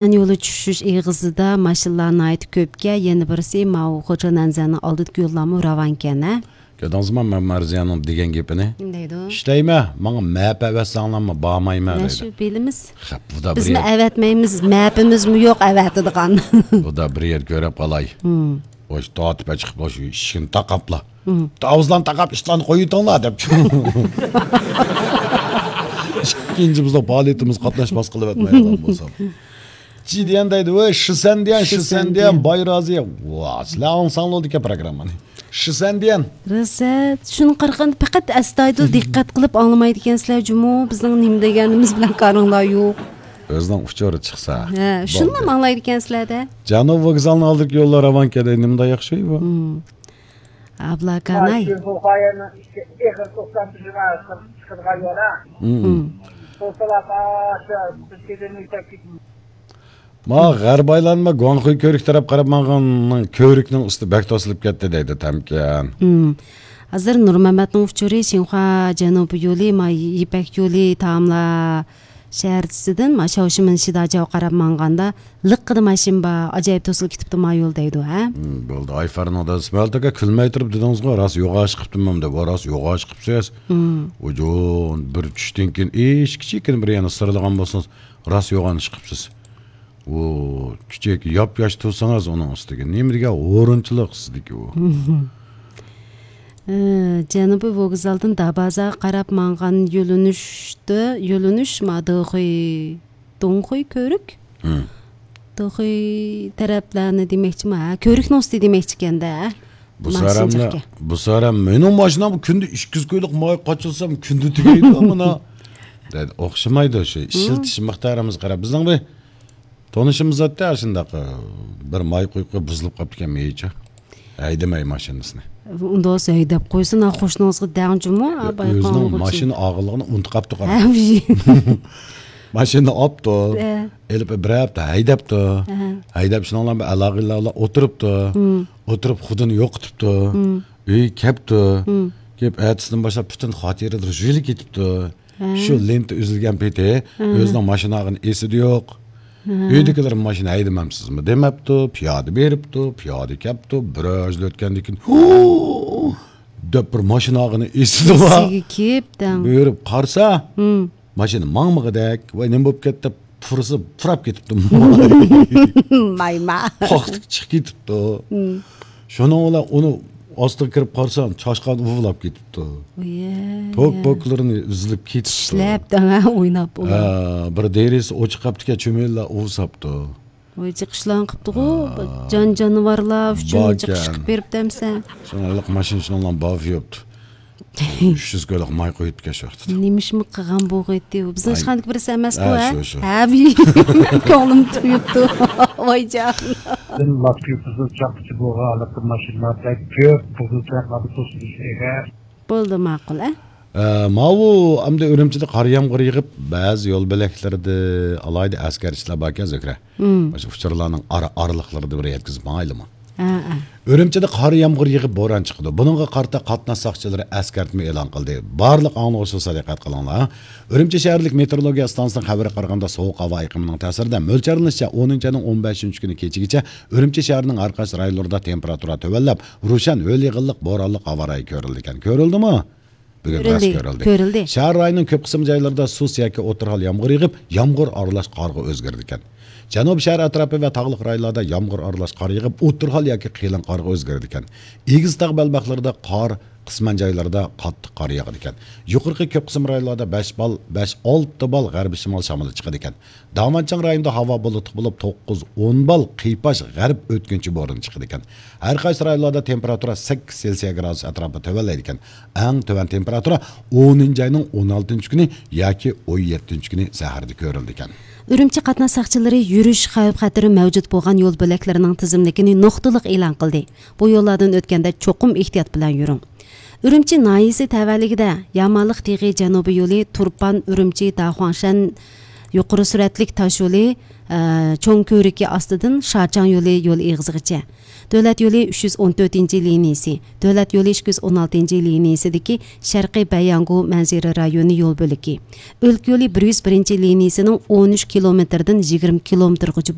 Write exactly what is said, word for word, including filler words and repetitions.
يولى چۈشۈش ئېغىزىدا ماشىنىلار ناھايىتى كۆپكەن، يەنە بىرسى ماۋۇ خوجانەنزەنىڭ ئالدىدىكى يوللارمۇ راۋانكەن ھە. كۆردىڭىزمۇ مەن مەرزىيەنىڭ دېگەن گېپىنى؟ نېمە دەيدۇ؟ ئىشلەيمەن، ماڭا مەپ ئەۋەتسەڭلارمۇ بارمايمەن دەيدۇ. شۇ بىلىمىز. خەپ، بۇدا بىزمۇ ئەۋەتمەيمىز، مەپىمىزمۇ يوق ئەۋەتىدىغان. بۇدا بىر يەر كۆرۈپ قالاي. ھىم. ئوش تارتىپ چىقىپ شۇ ئىشىكنى تاقاپلا. ھىم. تاۋۇزلارنى تاقاپ ئىتلارنى قويۇۋېتىڭلار دەپ. ئىككىنچى بىزنىڭ پائالىيىتىمىز قاتناشماس قىلىۋەتمەيدىغان بولسام. جىدىيەن دەيدۇ، ۋەي، شىسەندىيەن، شىسەندىيەن، شىسەندىيەن. باي رازى. ۋا، سىلەر ئاڭلىساڭلار دېكەن پروگراممىنى. شىسەندىيەن. رەسەت، شۇنى قارىغاندا پەقەت ئەستايىدىل دىققەت قىلىپ ئاڭلىمايدىكەنسىلەر جۇمۇ، بىزنىڭ نېمە دېگەنىمىز بىلەن كارىڭلار يوق. ئۆزىنىڭ ئۇچۇرى چىقسا. ھە، شۇنىلا بولدى. ئاڭلايدىكەنسىلەر-دە. جەنۇب ۋوگزالنىڭ ئالدىدىكى يوللار راۋانكەن دەيدۇ، نېمانداق ياخشى بۇ. ھىم. ئابلاكاناي. شۇ بۇ قايانىڭ ئىچى ئېغىر توختام تۈزۈمى چىقىدىغان يول ھە. ھىم. ھىم. توسىلاپ ئاشۇ بىر كېدىن ئۆتۈپ كېتىپ. ما غەربىي ئايلانما گۇاڭخۇي كۆۋرۈك تەرەپ قاراپ ماڭغاننىڭ كۆۋرۈكنىڭ ئۈستى بەك توسۇلۇپ كەتتى دەيدۇ تەمكەن. ھىم. ھازىر نۇرمەمەتنىڭ ئۇچۇرى شىنخۇا جەنۇبىي يولى، ما يىپەك يولى تاملا شەھەرچىسىدىن ما شاۋشىمىن شىداجاۋ قاراپ ماڭغاندا لىققىدە ماشىنا بار، ئاجايىپ توسۇلۇپ كېتىپتۇ ما يول دەيدۇ ھە. ھىم، بولدى. ئايفەرنىڭ دادىسى مەلتەكە كۈلمەي تۇرۇپ دېدىڭىزغۇ، راست يوغان ئىش قىپتىمەن دەپ، ۋە راست يوغان ئىش قىپسىز. ھىم. ئۇجۇن بىر چۈشتىن كېيىن ئىش كىچىككىنە بىر يەرنى سىرلىغان بولسىڭىز، راست يوغان ئىش قىپسىز. ئۇ كىچىك ياپياش تۇرسىڭىز ئۇنىڭ ئۈستىگە. نېمە دېگەن ھۇرۇنچىلىق سىزدىكى ئۇ. ئى، جەنۇبىي ۋوگزالدىن دابازاغا قاراپ ماڭغان يۆلىنىشتە، يۆلىنىش ما دېخۇي، دوڭخۇي كۆۋرۈك؟ ھىم. دېخۇي تەرەپلەرنى دېمەكچىما؟ ھە، كۆۋرۈكنىڭ ئۈستى دېمەكچىكەن-دە. بۇ ساراملا، بۇ سارام مېنىڭ ماشىنام كۈندە ئىككى يۈز كويلۇق ماي قاچىلىسام كۈندە تۈگەيدۇ مانا. دەيدۇ، ئوخشىمايدۇ شۇ ئىشلىتىش مىقدارىمىزغا قاراپ. بىزنىڭ بىر تونۇشىمىز ئاتتى، شۇنداق، بىر ماي قۇيۇپ قويۇپ بۇزۇلۇپ قاپتىكەن مېيىچۇ. ھەيدىمەي ماشىنىسىنى. ئۇنداق ھەيدەپ قويسۇن، ھا، قوشنىڭىزغا دەڭ جۇمۇ، ھا، بايقاڭغۇچى. ئۆزىنىڭ ماشىنا ئالغانلىقىنى ئۇنتۇپ قاپتۇ قارا. ھە، ماشىنىنى ئاپتۇ. ھە. ئېلىپ بىر ھەپتە ھەيدەپتۇ. ھە. ھەيدەپ شۇنىڭ بىلەن بىر ئالاقىلەر بىلەن ئولتۇرۇپتۇ. ھىم. ئولتۇرۇپ خۇدىنى يوقىتىپتۇ. ھىم. ئۆيگە كەپتۇ. ھىم. كېلىپ ئەتىسىدىن باشلاپ پۈتۈن خاتىرىلىرى يۈزۈلۈپ كېتىپتۇ. ھە. شۇ لېنتا ئۈزۈلگەن پېتى ھە. ئۆزىنىڭ ماشىنا ئالغان ئېسىدە يوق. ھە. ئۆيدىكىلەر ماشىنا ھەيدىمەمسىزمۇ دېمەپتۇ، پىيادە بېرىپتۇ، پىيادە كەپتۇ، بىر ئۆزلە ئۆتكەندىن كېيىن، ھۇ! دەپ بىر ماشىنا ئالغىنى ئېسىدە بار. ئېسىگە كېلىپ دەڭ. بېرىپ قارىسا، ھىم. ماشىنا ماڭمىغۇدەك، ۋاي نېمە بولۇپ كەتتى دەپ پۇرىسا پۇراپ كېتىپتۇ. مايما. پاختىكى چىقىپ كېتىپتۇ. ھىم. شۇنىڭ بىلەن ئۇنى ئاستىغا كىرىپ قارىسام، چاشقان ئۇۋىلاپ كېتىپتۇ. ئۇيە. پوك-پوكلىرىنى ئۈزۈلۈپ كېتىپتۇ. چىشلەپ دەڭ، ھە، ئويناپ ئۇلار. ھە، بىر دېرىزىسى ئوچۇق قاپتىكەن، چۈمۈلىلەر ئۇۋىساپتۇ. ۋاي، جىقىشلارنى قىپتىغۇ، ھە. جان-جانىۋارلار ئۈچۈن جىقىش قىپ بېرىپتۇ ئەمسە. شۇڭا ھېلىقى ماشىنا شۇنىڭ بىلەن باۋى يوپتۇ. ئۈچ يۈز كويلۇق ماي قويۇپتىكەن شۇ ۋاقىتتا. نېمىشمۇ قىلغان بولغىيتتى ئۇ؟ بىزنىڭ ئىشخانىدىكى بىرسى ئەمەسقۇ، ھە، ھە؟ شۇ، شۇ. ھە، كۆڭلۈم تويۇپتۇ. ۋايجان. لاتكا يۈزى چاقچى بولغان ھېلىقى ماشىنىلار بەك كۆپ، بۇزۇلۇپ چاقلاردا توسۇلۇش ئېغىر. بولدى، ماقۇل، ھە؟ ئە، ماۋۇ ئەمدى ئۈرۈمچىدە قار يامغۇر يېغىپ، بەزى يول بۆلەكلىرىدە ئالاھىدە ئەسكەرتىشلەر باركەن، زۆھرە. مم. مۇشۇ ئۇچۇرلارنىڭ ئارا-، ئارىلىقلىرىدا بىر يەتكۈزۈپ ماڭايلىمۇ؟ ھە، ھە. ئۈرۈمچىدە قار يامغۇر يېغىپ بوران چىقىدۇ. بۇنىڭغا قارىتا قاتناش ساقچىلىرى ئەسكەرتمە ئېلان قىلدى. بارلىق ئاڭلىغۇچىلار دىققەت قىلىڭلار. ئۈرۈمچى شەھەرلىك مېتېئورولوگىيە ئىستانسىسىنىڭ خەۋىرىگە قارىغاندا، سوغۇق ھاۋا ئېقىمىنىڭ تەسىرىدە مۆلچەرلىنىشىچە، ئونىنچى ئاينىڭ ئون بەشىنچى كۈنى كېچىگىچە ئۈرۈمچى شەھىرىنىڭ ھەر قايسى رايونلىرىدا تېمپېراتۇرا تۆۋەنلەپ، روشەن ھۆل يېغىنلىق بورانلىق ھاۋا رايى كۆرۈلىدىكەن. كۆرۈلدىمۇ؟ بۈگۈن راست كۆرۈلدى. كۆرۈلدى. شەھەر رايونىنىڭ كۆپ قىسىم جايلىرىدا سۇس ياكى ئوتتۇرا ھال يامغۇر يېغىپ، يامغۇر ئارىلاش قارغا ئۆزگىرىدىكەن. جەنۇبىي شەھەر ئەتراپى ۋە تاغلىق رايونلاردا يامغۇر ئارىلاش قار يېغىپ، ئوتتۇرا ھال ياكى قېلىن قارغا ئۆزگىرىدىكەن. ئېگىز تاغ بەلباغلىرىدا قار، قىسمەن جايلاردا قاتتىق قار ياغىدىكەن. يۇقىرىقى كۆپ قىسىم رايونلاردا بەش بال، بەش، ئالتە بال غەربىي شىمال شامىلى چىقىدىكەن. داۋانچىڭ رايونىدا ھاۋا بۇلۇتلۇق بولۇپ، توققۇز، ئون بال قىيپاش غەرب ئۆتكۈنچى بورىنى چىقىدىكەن. ھەر قايسى رايونلاردا تېمپېراتۇرا سەككىز سېلسىيە گرادۇس ئەتراپىدا تۆۋەنلەيدىكەن. ئەڭ تۆۋەن تېمپېراتۇرا ئونىنچى ئاينىڭ ئون ئالتىنچى كۈنى ياكى ئون يەتتىنچى كۈنى سەھەردە كۆرۈلىدىكەن. ئۈرۈمچى قاتناش ساقچىلىرى يۈرۈش خەۋپ-خەتىرى مەۋجۇت بولغان يول بۆلەكلىرىنىڭ تىزىملىكىنى نۇقتىلىق ئېلان قىلدى. بۇ يوللاردىن ئۆتكەندە چوقۇم ئېھتىيات بىلەن يۈرۈڭ. ئۈرۈمچى ناھىيەسى تەۋەلىكىدە يامالىق تېغى جەنۇبىي يولى تۇرپان، ئۈرۈمچى، داخۇاڭشەن يۇقىرى سۈرئەتلىك تاش يولى، ئە، چوڭ كۆۋرۈكى ئاستىدىن شاچاڭ يولى يول ئېغىزىغىچە، دۆلەت يولى ئۈچ يۈز ئون تۆتىنچى لىنىيىسى، دۆلەت يولى ئىككى يۈز ئون ئالتىنچى لىنىيىسىدىكى شەرقىي بەيياڭگۇ مەنزىرە رايونى يول بۆلىكى، ئۆلكە يولى بىر يۈز بىرىنچى لىنىيىسىنىڭ ئون ئۈچ كىلومېتىردىن يىگىرمە كىلومېتىرغىچە